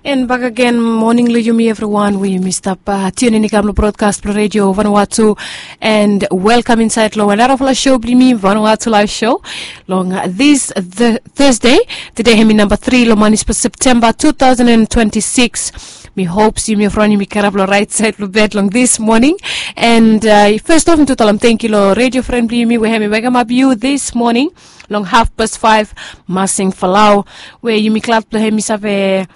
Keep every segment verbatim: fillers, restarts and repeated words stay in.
And back again, morning lo yumi everyone, we yumi stap uh, tune in i kam lo broadcast lo radio Vanuatu, and welcome inside lo another fla show bli mi Vanuatu live show. Long uh, this the Thursday, today hemi number three lo manis pa September two thousand and twenty-six. Mi hopes yumi everyone yumi karap lo right side lo bed long this morning. And uh, first off, mi tu talam thank you lo radio friend bli yumi we hemi wake up you this morning. Long half past five, masing falau, we yumi glad lo hemi save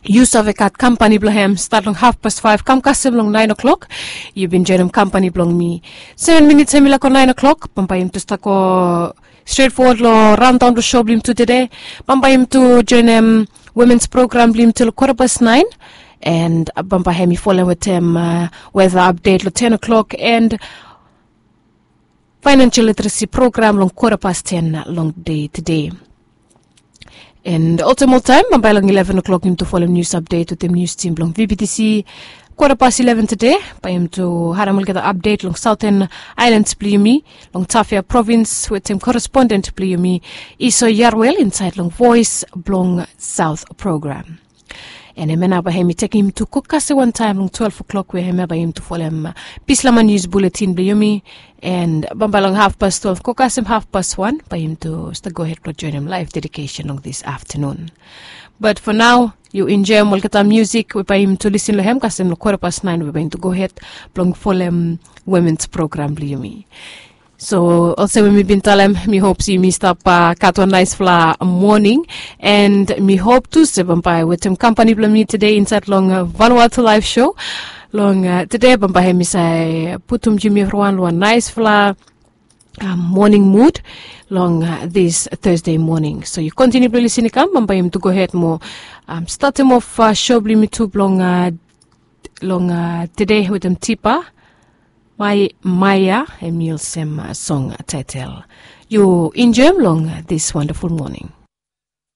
yu save gat kampani blong hem stat long half past five kam kasem long nine o'clock. Yu bin joinim kampani blong mi. Seven minutes hem i laik go nine o'clock, bambae yum tu stap go stret fowod lo raondaon blong show blong yum tu tede. Bambae yum tu joinim womens program blong yum tu lo kota past nine. And bambae hem i folem wetem uh, weather update lo ten o'clock and financial literacy program long kota past ten long dei tede. And oltaem oltaem bambae long eleven o'clock yum tu folem news update wetem news team blong vbtc. Kota past eleven tede bae yum tu harem olgeta update long southern islands blong yumi, long Tafea province wetem correspondent blong yumi, Iso Yarwel, inside long Voice blong South program. And hemia nao bae hem i tekim tu go kasem wantaem long twelve o'clock we hemia bae hem tu folem uh, Bislama news bulletin blong yumi. And bambae long half past twelve go kasem half past one bae hem tu stap go hed blong joinim live dedication long this afternoon. But for now, yu enjoyim olgeta music we bae hem tu lisin long hem kasem long kota past nine we bae hem tu go hed blong folem womens program blong yumi. So olsem we mi bin talem, mi hop se yumi stap uh, gat wan naesfala moning. And mi hop tu se bambae wetem kampani blong mi tede insait long uh, Vanuatu live show long uh, tede bambae hem i save putum yumi evriwan long wan naesfala um, moning mud long uh, this Thursday moning. So yu kontiniu blong lisin i kam, bambae yum tu gohed mo um, statem of uh, show blong yumi tu blong uh, long uh, tede wetem Tipa Mai Maia, hem i olsem uh, song taetel. Yu enjoyim long uh, this wonderful morning.